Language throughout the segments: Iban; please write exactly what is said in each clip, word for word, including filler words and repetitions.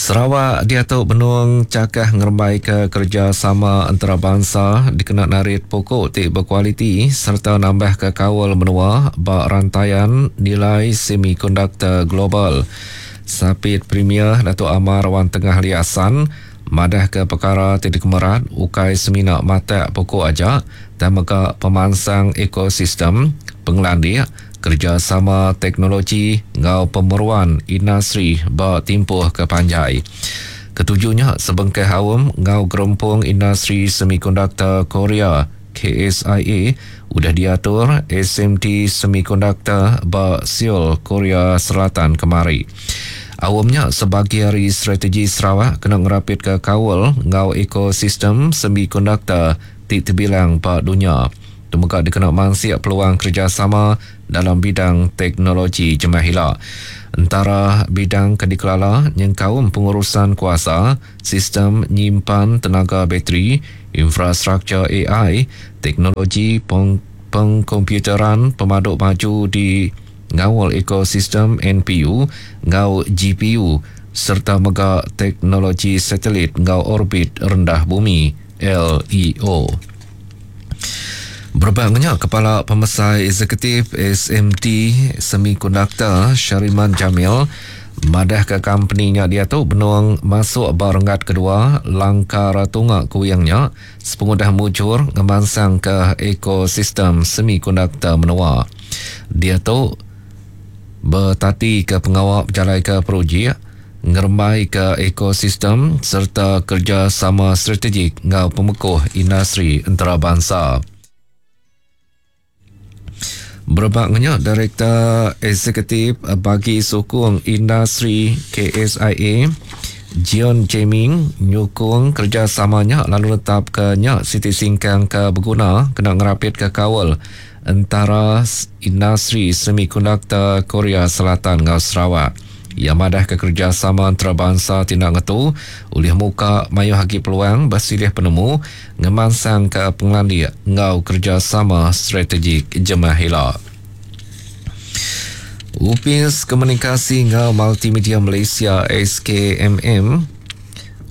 Sarawak diatu benung chakah ngerembaika kerejasama entarabansa dikena narit puku ti bekualiti sereta nambahka kaul menua ba rantaian nilai semikonduktor global. Sapit Premier Datuk Amar Awang Tengah Ali Hasan madahka pekara ti dikemerat ukai semina matak puku aja tang mega pemansang ekosistem, pengelandik, kerejasama teknologi enggau pemeruan industri ba timpuh ke panjai. Ketuju nya sebengkah aum enggau Gerempung Industri Semikonduktor Korea, K S I A, udah diatur S M T Semikonduktor ba Seoul, Korea Selatan kemari. Aum nya sebagi ari strategi Sarawak kena ngerapitka kaul enggau ekosistem semikonduktor ti tebilang ba dunya. Tu mega dikena mansik peluang kerejasama dalam bidang teknologi jemah ila. Entara bidang ke dikelala nyengkaum pengurusan kuasa, sistem nyimpan tenaga bateri, infrastruktur A I, teknologi peng- pengkomputeran pemadu maju di ngaul ekosistem N P U enggau G P U serta mega teknologi satelit enggau orbit rendah bumi L E O. Berebak nya, Kepala Pemesai Eksekutif S M T Semiconductor Shariman Jamil madah ke company nya diatu benung masuk ba renggat kedua langkar tunga kuingnya sepengudah mujur ngemansang ke ekosistem semikonduktor menua. Diatu betati ke pengawa berjalai ke projek ngerembai ke ekosistem serta kerjasama strategik enggau pemekuh industri antarabangsa. Berebak nya, Direktor Eksekutif Bagi Sukung Industri K S I A, Jeon Jae-ming nyukung kerjasamanya lalu netap ke nya siti singkang ke berguna kena ngerapit ke kaul antara industri semikonduktor Korea Selatan enggau Sarawak. Ia madah ke kerjasama antarabangsa tindak ngetu oleh muka mayuh agi peluang bersilih penemu ngemansang ke pengelandik enggau kerjasama strategik jemah ila. Upis Komunikasi enggau Multimedia Malaysia S K M M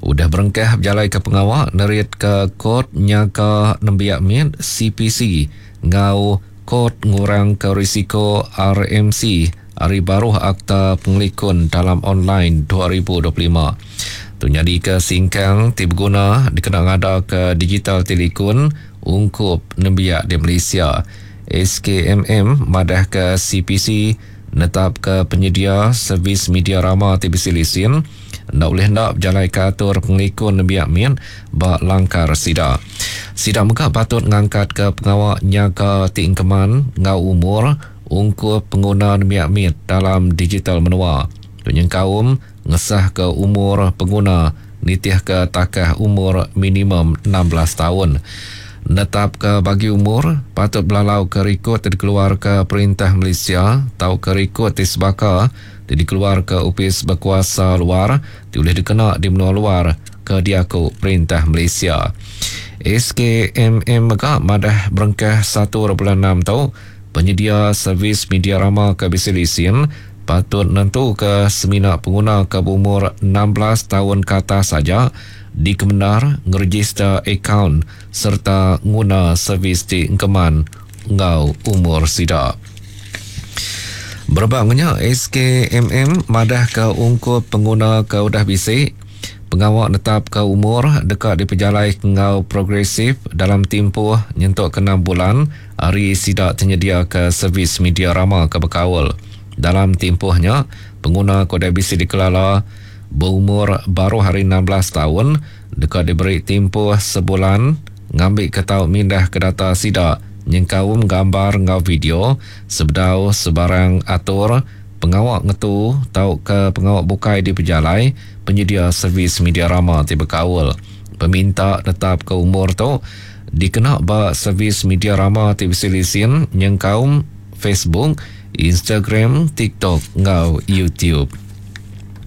udah berengkah berjalai ke pengawa nerit ke Kod Nyaga Nembiak Mit C P C enggau Kod Ngurang ke Risiko R M C hari baruh Akta Pengelikun Dalam Online dua ribu dua puluh lima. Tu nyadi ke singkang ti berguna dikena ngada ke digital telikun ungkup nembiak di Malaysia. S K M M madah ke C P C netap ke penyedia servis media rama ti bisi lisin ndak boleh ndak berjalai ke atur pengelikun nembiak min ba langkar sida. Sida mega patut ngangkat ke pengawa nyaga ti engkeman enggau umur ungkup pengguna nembiak mit dalam digital menua. Tu nyengkaum ngesah ke umur pengguna nitih ke takah umur minimum enam belas tahun. Netap ke bagi umur patut belalau ke rekod ti dikeluar ke Perintah Malaysia atau ke rekod ti sebaka ti dikeluar ke Opis Berkuasa Luar ti boleh dikena di menua luar ke diaku Perintah Malaysia. S K M M mega madah berengkah satu bulan enam tu penyedia servis media rama ke bisi lisin patut nentu ke semina pengguna ke berumur enam belas tahun ke atas saja dikemenar ngeregister akaun serta nguna servis ti engkeman enggau umur sida. Berebak nya, S K M M madah ke ungkup pengguna ke udah bisi pengawa netap ke umur deka dipejalai enggau progresif dalam tempoh nyentuk ke enam bulan hari sida tersedia ke servis media rama ke berkaul. Dalam tempohnya, pengguna ke udah bisi dikelala berumur baru hari enam belas tahun deka diberi tempoh sebulan ngambil ke tau mindah ke data sida nyengkaum gambar enggau video sebedau sebarang atur pengawa ngetu tau ke pengawa bukai di pejalai penyedia servis media rama ti berkaul. Peminta tetap ke umur tu dikena ba servis media rama ti bisi lisin nyengkaum Facebook, Instagram, TikTok enggau YouTube.